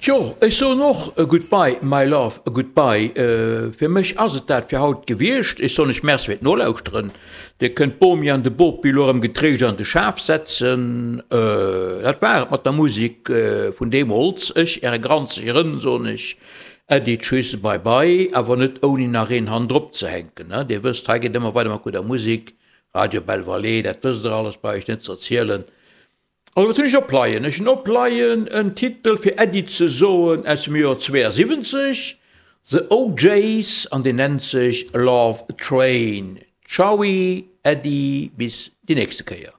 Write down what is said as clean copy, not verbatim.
Tjo, ech soen och Goodbye my love, goodbye. Fir mech ass et dat fir haut gewiescht. Ech soen iech Merci fir d'Nolauschteren. Dir kënnt d'Bomi an de Bopi elo erëm getréischt an de Schaf setzen. Dat war et mat der Musek vun deemools. Ech, äre granzege Rënn, soen iech Äddi, Tschüss, bye bye, awer net ouni nach een hannendrop ze hänken. Dir wësst, hei geet ëmmer weider mat gudder Musek. Radio Belle Vallée, dat wësst der alles, brauch ech net ze erzielen. Also wat hunn ech opleien? Ech hunn opleien en Titel fir Äddi ze soen aus dem Joer 72, The O'Jays, an deen nennt sech Love Train. Tschaui, Äddi, bis déi nächste Kéier.